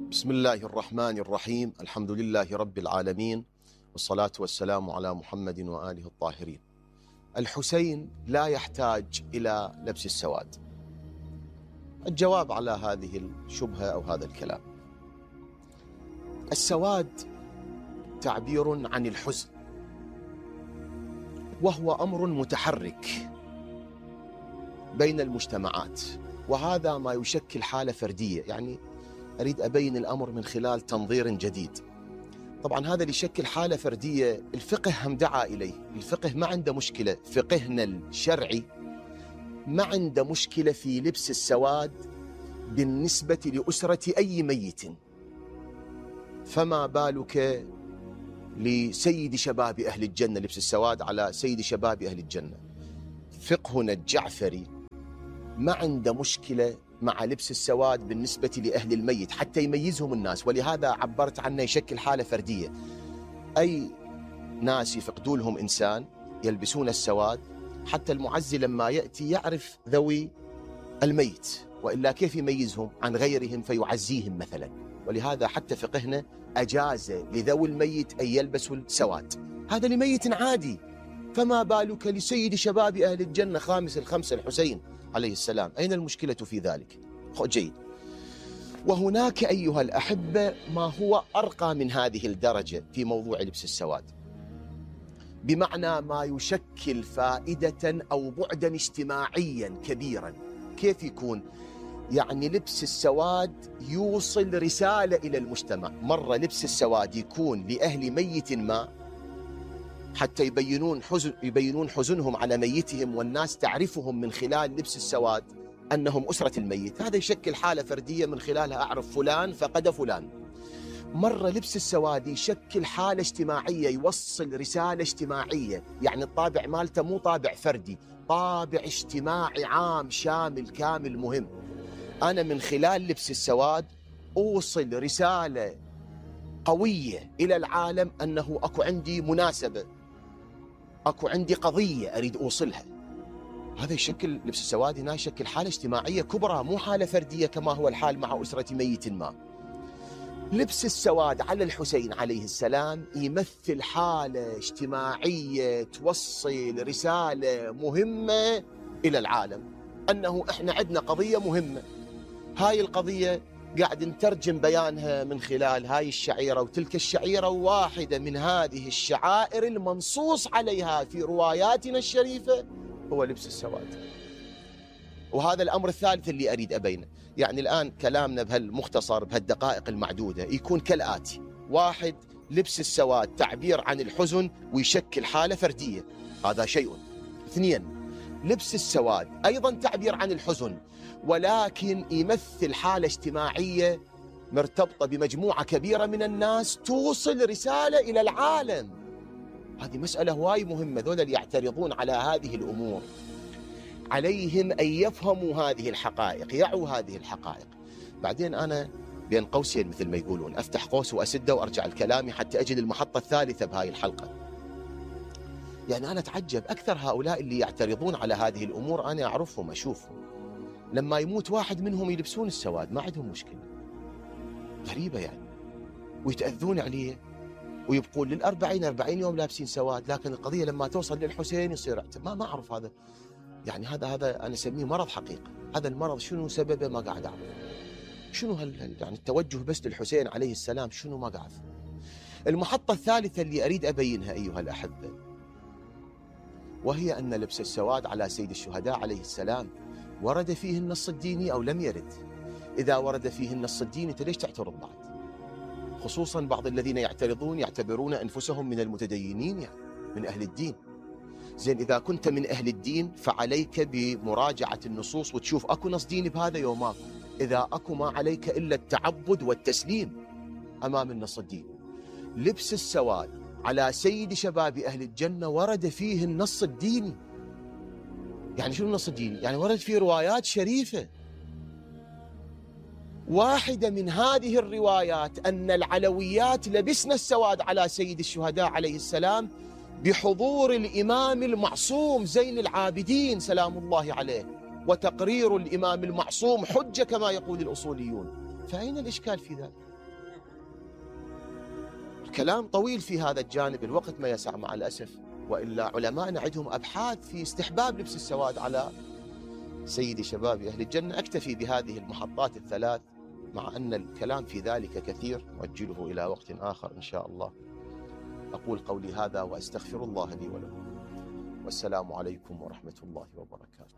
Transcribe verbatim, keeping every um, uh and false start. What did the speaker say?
بسم الله الرحمن الرحيم. الحمد لله رب العالمين، والصلاة والسلام على محمد وآله الطاهرين. الحسين لا يحتاج إلى لبس السواد. الجواب على هذه الشبهة أو هذا الكلام: السواد تعبير عن الحزن، وهو أمر متحرك بين المجتمعات، وهذا ما يشكل حالة فردية. يعني أريد أبين الأمر من خلال تنظير جديد. طبعا هذا اللي يشكل حالة فردية الفقه هم دعا إليه. الفقه ما عنده مشكلة، فقهنا الشرعي ما عنده مشكلة في لبس السواد بالنسبة لأسرة أي ميت، فما بالك لسيد شباب أهل الجنة؟ لبس السواد على سيد شباب أهل الجنة. فقهنا الجعفري ما عنده مشكلة مع لبس السواد بالنسبة لأهل الميت حتى يميزهم الناس، ولهذا عبرت عنه يشكل حالة فردية. أي ناس يفقدوا لهم إنسان يلبسون السواد حتى المعزي لما يأتي يعرف ذوي الميت، وإلا كيف يميزهم عن غيرهم فيعزيهم مثلا. ولهذا حتى فقهنا أجاز لذوي الميت أن يلبسوا السواد، هذا لميت عادي، فما بالك لسيد شباب أهل الجنة خامس الخمسة الحسين عليه السلام؟ أين المشكلة في ذلك؟ جيد. وهناك أيها الأحبة ما هو أرقى من هذه الدرجة في موضوع لبس السواد، بمعنى ما يشكل فائدة أو بعدا اجتماعيا كبيرا. كيف يكون؟ يعني لبس السواد يوصل رسالة إلى المجتمع. مرة لبس السواد يكون لأهل ميت ما حتى يبينون حزن يبينون حزنهم على ميتهم، والناس تعرفهم من خلال لبس السواد أنهم أسرة الميت. هذا يشكل حالة فردية من خلالها أعرف فلان فقد فلان. مرة لبس السواد يشكل حالة اجتماعية، يوصل رسالة اجتماعية، يعني الطابع مالته مو طابع فردي، طابع اجتماعي عام شامل كامل مهم. أنا من خلال لبس السواد أوصل رسالة قوية إلى العالم أنه أكو عندي مناسبة، أكو عندي قضية أريد أوصلها. هذا يشكل لبس السواد هنا يشكل حالة اجتماعية كبرى، مو حالة فردية كما هو الحال مع أسرة ميت ما. لبس السواد على الحسين عليه السلام يمثل حالة اجتماعية توصل رسالة مهمة إلى العالم أنه إحنا عندنا قضية مهمة. هاي القضية قاعد نترجم بيانها من خلال هاي الشعيرة وتلك الشعيرة، واحدة من هذه الشعائر المنصوص عليها في رواياتنا الشريفة هو لبس السواد. وهذا الأمر الثالث اللي أريد أبينه. يعني الآن كلامنا بهالمختصر بهالدقائق المعدودة يكون كالآتي: واحد، لبس السواد تعبير عن الحزن ويشكل حالة فردية، هذا شيء. اثنين، لبس السواد أيضا تعبير عن الحزن، ولكن يمثل حالة اجتماعية مرتبطة بمجموعة كبيرة من الناس توصل رسالة إلى العالم. هذه مسألة هواي مهمة. ذولا اللي يعترضون على هذه الأمور عليهم أن يفهموا هذه الحقائق، يعوا هذه الحقائق. بعدين أنا بين قوسين مثل ما يقولون أفتح قوس وأسده وأرجع الكلام حتى أجد المحطة الثالثة بهاي الحلقة. يعني أنا أتعجب أكثر هؤلاء اللي يعترضون على هذه الأمور، أنا أعرفهم أشوفهم لما يموت واحد منهم يلبسون السواد ما عندهم مشكلة. غريبة يعني، ويتأذون عليه ويبقون للأربعين أربعين يوم لابسين سواد، لكن القضية لما توصل للحسين يصير ما ما أعرف هذا. يعني هذا هذا أنا أسميه مرض حقيقة. هذا المرض شنو سببه ما قاعد أعرف. شنو هال يعني التوجه بس للحسين عليه السلام شنو ما قاعد أعرف. المحطة الثالثة اللي أريد أبينها أيها الأحبة، وهي أن لبس السواد على سيد الشهداء عليه السلام ورد فيه النص الديني أو لم يرد؟ إذا ورد فيه النص الديني أنت ليش تعترض بعد؟ خصوصا بعض الذين يعترضون يعتبرون أنفسهم من المتدينين، يعني من أهل الدين. زين، إذا كنت من أهل الدين فعليك بمراجعة النصوص وتشوف أكو نص ديني بهذا يوم أكو. إذا أكو ما عليك إلا التعبد والتسليم أمام النص الديني. لبس السواد على سيد شباب أهل الجنة ورد فيه النص الديني. يعني شنو النص الديني؟ يعني ورد فيه روايات شريفة. واحدة من هذه الروايات أن العلويات لبسنا السواد على سيد الشهداء عليه السلام بحضور الإمام المعصوم زين العابدين سلام الله عليه، وتقرير الإمام المعصوم حجة كما يقول الأصوليون. فأين الإشكال في ذلك؟ الكلام طويل في هذا الجانب، الوقت ما يسع مع الأسف، وإلا علماءنا عندهم أبحاث في استحباب لبس السواد على سيدي شباب أهل الجنة. أكتفي بهذه المحطات الثلاث، مع أن الكلام في ذلك كثير، نؤجله إلى وقت آخر إن شاء الله. أقول قولي هذا وأستغفر الله لي ولكم، والسلام عليكم ورحمة الله وبركاته.